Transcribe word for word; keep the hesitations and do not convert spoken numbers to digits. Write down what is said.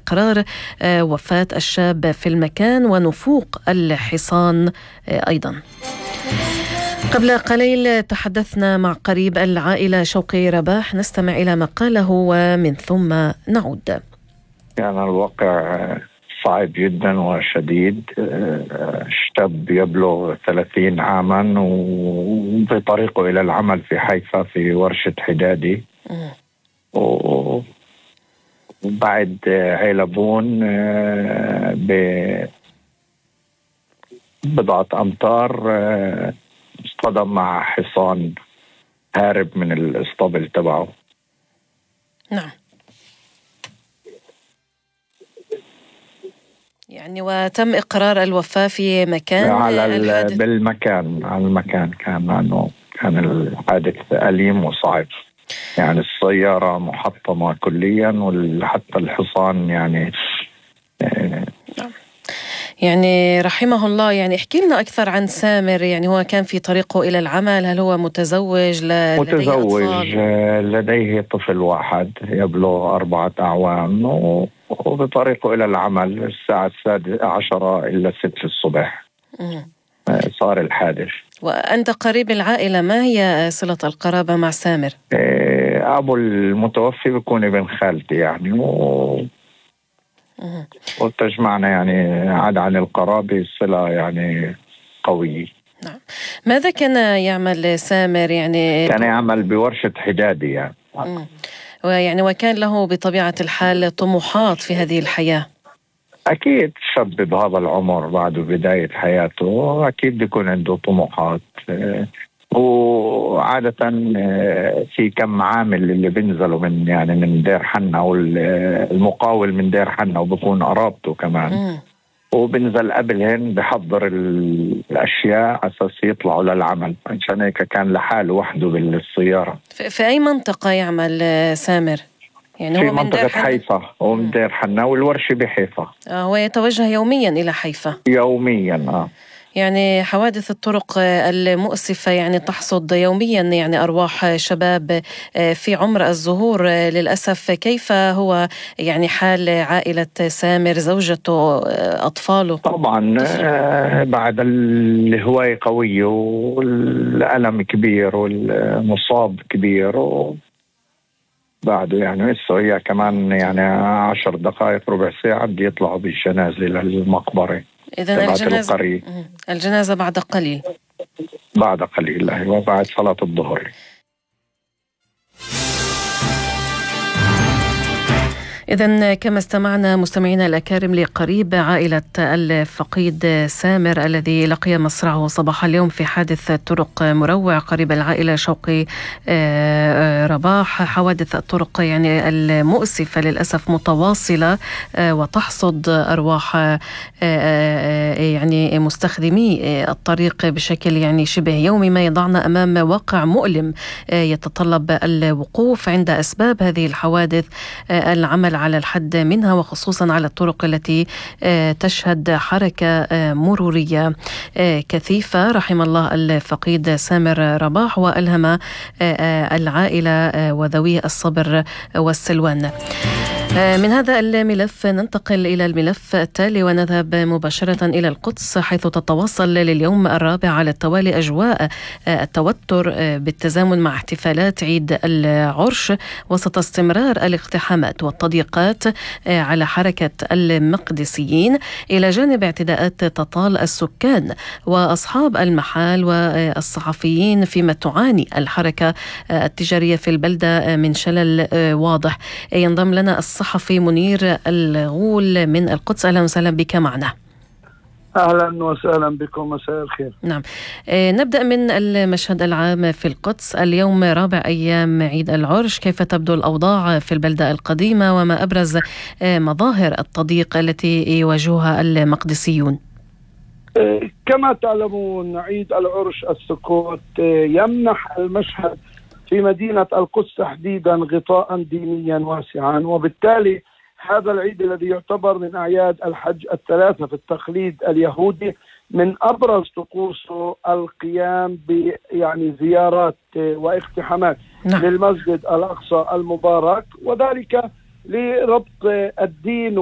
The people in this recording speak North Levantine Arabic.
إقرار وفاة الشاب في المكان ونفوق الحصان أيضا. قبل قليل تحدثنا مع قريب العائلة شوقي رباح، نستمع إلى ما قاله ومن ثم نعود. كان يعني الواقع صعب جدا وشديد. شاب يبلغ ثلاثين عاما وفي طريقه إلى العمل في حيفا في ورشة حدادي، وبعد علبون ببضعة أمتار اصطدم مع حصان هارب من الاسطبل تبعه. نعم. يعني وتم إقرار الوفاة في مكان على الحادث. بالمكان على المكان كان أنه كان الحادث أليم وصعب، يعني السيارة محطمة كليا وحتى الحصان يعني نعم. يعني رحمه الله. يعني احكي لنا أكثر عن سامر، يعني هو كان في طريقه إلى العمل، هل هو متزوج؟ ل... متزوج لديه, لديه طفل واحد يبلغ أربعة أعوام وبطريقه إلى العمل الساعة السادسة عشرة إلى ست الصبح م. صار الحادث. وأنت قريب العائلة، ما هي صلة القرابة مع سامر؟ أبو المتوفي بيكون ابن خالتي يعني و... وتجمعنا يعني عاد عن القرابة صلة يعني قوية. نعم. ماذا كان يعمل سامر؟ يعني كان يعمل بورشة حدادي يعني. مم. ويعني وكان له بطبيعة الحال طموحات في هذه الحياة. أكيد شاب بهذا العمر بعد بداية حياته أكيد بيكون عنده طموحات. وعادة في كم عامل اللي بينزلوا من يعني من دير حنا والمقاول من دير حنا وبكون قرابته كمان م. وبنزل قبلهن بحضر الأشياء أساس يطلعوا للعمل، عشان هيك كان لحاله وحده بالسيارة. في أي منطقة يعمل سامر؟ يعني في هو منطقة حيفا ومن دير حنا والورشة بحيفا. آه هو يتوجه يوميا إلى حيفا؟ يوميا آه يعني حوادث الطرق المؤسفة يعني تحصد يوميا يعني أرواح شباب في عمر الزهور للأسف. كيف هو يعني حال عائلة سامر، زوجته، أطفاله؟ طبعا آه بعد الهواية قوية والألم كبير والمصاب كبير و بعده يعني لسه هي كمان يعني عشر دقائق ربع ساعة بدي يطلعوا بالجنازة للمقبرة. إذن الجنازة الجنازة بعد قليل بعد قليل أيوة بعد صلاة الظهر. إذن كما استمعنا مستمعينا الأكارم لقريب عائلة الفقيد سامر الذي لقي مصرعه صباح اليوم في حادث طرق مروع قريب العائلة شوقي رباح. حوادث الطرق يعني المؤسفة للأسف متواصلة وتحصد أرواح يعني مستخدمي الطريق بشكل يعني شبه يومي، ما يضعنا أمام واقع مؤلم يتطلب الوقوف عند أسباب هذه الحوادث، العمل على الحد منها وخصوصا على الطرق التي تشهد حركة مرورية كثيفة. رحم الله الفقيد سامر رباح وألهم العائلة وذوي الصبر والسلوان. من هذا الملف ننتقل إلى الملف التالي ونذهب مباشرة إلى القدس، حيث تتواصل لليوم الرابع على التوالي أجواء التوتر بالتزامن مع احتفالات عيد العرش وسط استمرار الاقتحامات والتضييقات على حركة المقدسيين، إلى جانب اعتداءات تطال السكان وأصحاب المحال والصحفيين، فيما تعاني الحركة التجارية في البلدة من شلل واضح. ينضم لنا الصحفي منير الغول من القدس. أهلا وسهلا بك معنا. أهلا وسهلا بكم، مساء الخير. نعم، آه نبدأ من المشهد العام في القدس. اليوم رابع أيام عيد العرش، كيف تبدو الأوضاع في البلدة القديمة وما أبرز آه مظاهر التضييق التي يواجهها المقدسيون؟ كما تعلمون عيد العرش السكوت يمنح المشهد في مدينة القدس تحديدا غطاء دينيا واسعا، وبالتالي هذا العيد الذي يعتبر من أعياد الحج الثلاثة في التقليد اليهودي من أبرز طقوسه القيام ب يعني زيارات واقتحامات نعم. للمسجد الأقصى المبارك، وذلك لربط الدين